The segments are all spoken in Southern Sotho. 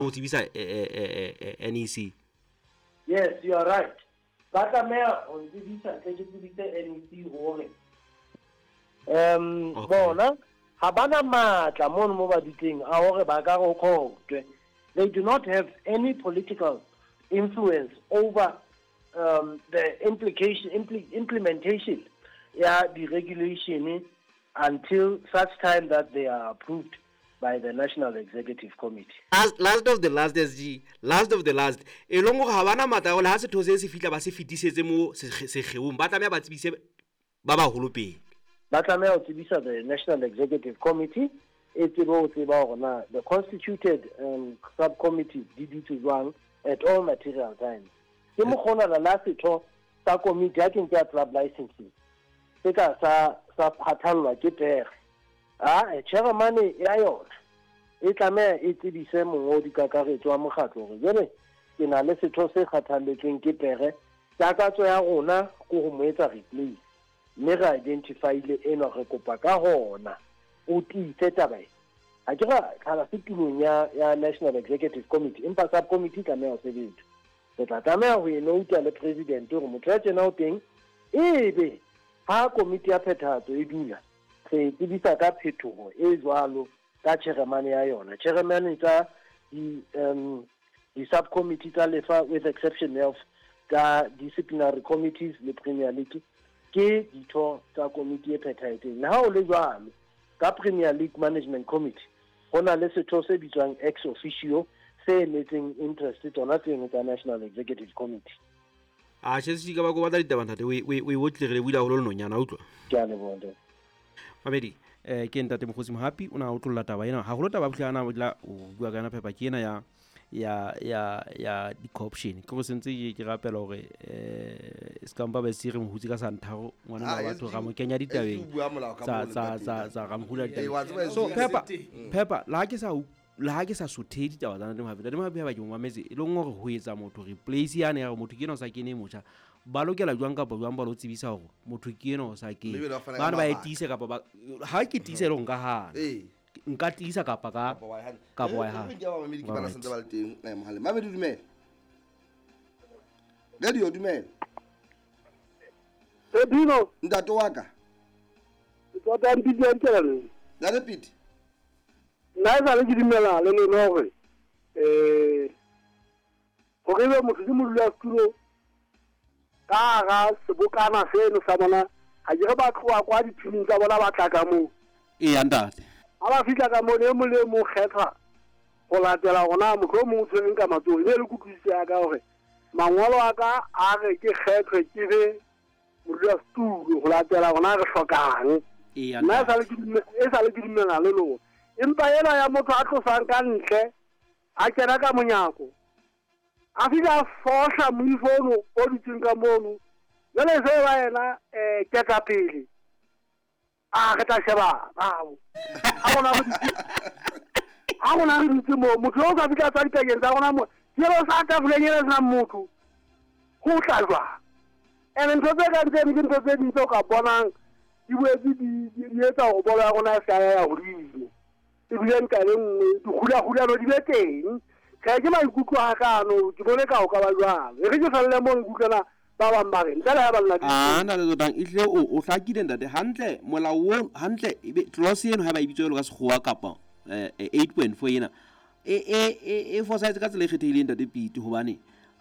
Ho tsebisa NEC. Yes, you are right. Ba tlameha ho ntsebisa ntle ke tsebise NEC hore bona ha bana matla mono mo ba dutseng a hore ba ka re ho khotwe. They do not have any political influence over the implementation ya di-regulation until such time that they are approved by the National Executive Committee. Last of the last, SG, last of the last. E leng hore ha bana matla hore ha setho se se fihla ba se fetisetse mo sekgeong, ba tlameha ba tsebise ba baholo pele. Ba tlameha ho tsebisa the National Executive Committee e tsebe ho tseba hore na the constituted subcommittees di dutse jwang at all material times. Ke mokgonana la setho sa komiti ha ke nke ya club licensing se ka sa phathallwa ke pere. Chairman ya yona e tlameha e tsebise mongodi kakaretso wa mokgatlo hore jwale ke na le setho se kgathalletsweng ke pere, takatso ya rona ke ho mo etsa replace, mme re identify-ile enwa, re kopa ka hona o tiise taba e. Ha ke ra tlhala se tulong ya National Executive Committee, empa subcommittee tlameha ho sebetsa. Re tla tlameha ho e nouta le president hore motho ya tjena o teng, ebe ha komiti ya phethahatso e dula, re tsebisa ka phetoho e jwalo ka chairman ya yona. Chairman tsa di-subcommittee tsa lefa with exception of tsa disciplinary committees le Premier League ke ditho tsa komiti e phethahetseng. Le ha o le jwalo, ka Premier League Management Committee ho na le setho se bitswang ex officio se emetseng interest tsona tseno tsa National Executive Committee. A tjhe, ka ba ko batla ditaba ntate, o e otlile re lebohile haholo lenonyana, utlwa. Ke a leboha ntate. Mamedi, ke ntate Mokgotsi Mohapi o na otlolla taba ena haholo. Taba bohle ana o tla o bua ka yona phepa ke ena ya di-corruption. Ke go sentse ke rapela hore se ka mpa ba se re mohutse ka santharo ngwana wa batho ra mo kenya ditabeng tsa ra mo hula ditabeng. So phepa la ha ke sa sothe ditaba tsa Ntate Mohapi. Ntate Mohapi ha ba ke mo mametse e leng hore ho etsa motho replace yane ya hore motho ke ena o sa kene motjha, ba lokela jwang kapa jwang ba lo tsebisa hore motho ke ena o sa kene, bana ba e tiise kapa ba ha ke tiise le nka hana nka tiisa kapa ka kapa wa hana. Ke ba mamedi ke bana sentse ba le teng mohaleng. Mamedi dumela. Radio dumela. Dino. Ntate wa ka. Tsota mpidi ya ntela. Ntate Pete. Nna e sale ke dumela le lona hore hore ebe motho ke modulasetulo ka hara sebokana seno sa bona, ha ke re ba tloha kwa dithiming tsa bona ba tla ka moo. Eya ntate. Ha ba fihla ka moo, e mong le e mong kgethwa ho latela hore na motho o mong o tshwereng ka matsoho. E ne le kutlwisiso ya ka hore mangolo a ka a re ke kgethwe ke be modulasetulo ho latela hore na re hlokang. Nna e sale ke dumela le lona. Empa ena ya motho a tlosang ka ntle a kena ka monyako a fihla a fohla moifo ono o dutseng ka mono, jwale se ba yena ketapele a re tla sheba babo ha rona re dutse moo, motho o sa fihla tswa dipakeng tsa rona mo ke lo sa tafoleng ena senang motho ho tla jwang. Ene ntho tse kang tseno ke ntho tse ding tse o ka bonang di boetse di etsa hore bolo ya rona e se ka ya hodimo, ebile nka le nngwe dikgulakgulano di be teng. Tjhe, ke maikutlo a ka ano, ke bone ka ho ka ba jwalo. E re ke felle moo ke utlwela ba bang ba re ntle le ha ba nna ntate Tsotang ehlile o hlakile ntate hantle molao o hantle ebe clause eno ha ba e bitsa jwalo ka sekgowa kapa 8.4 ena e fosahetse ka tsela e kgethehileng ntate Pete, hobane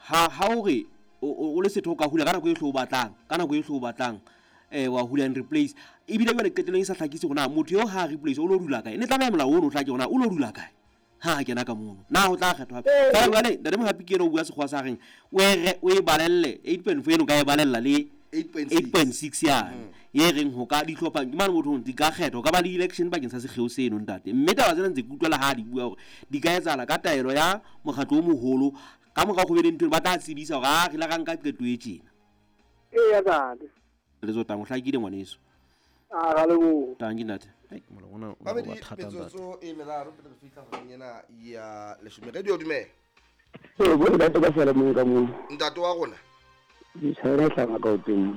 ha o re o le setho o ka hula ka nako e hle o batlang, ka nako e hle o batlang wa hula and replace, ebile jwale qetellong e sa hlakise hore na motho eo ha replace o lo dula kae. Ne tlameha molao ono o hlake hore na o lo dula kae ha a kena ka mono, na ho tla kgethwa hape. Feela jwale ntate Mohapi ke ena o bua sekgowa sa reng o e balelle 8.4 eno ka e balella le 8.6 yane e reng ho ka dihlopha ke mane motho di ka kgethwa, ho ka ba le election bakeng sa sekgeo seno ntate. Mme taba tsena ntse ke utlwela ha di bua hore di ka etsahala ka taelo ya mokgatlo o moholo ka mora ho be le ntho ba tla tsebisa hore a re la ka nka qeto e tjena. Eya ntate. Le Tsotang o hlakile ngwaneso. A ra leboha. Tanki ntate. Ai molao ona o Mamedi ba thata ntate. Metsotso e meraro pele re fihla horeng ena ya leshome. Radio dumela. Ee, bo ntate ka sala mong ka moo. Ntate wa rona. Ditjhaena e hlanga ka o teng.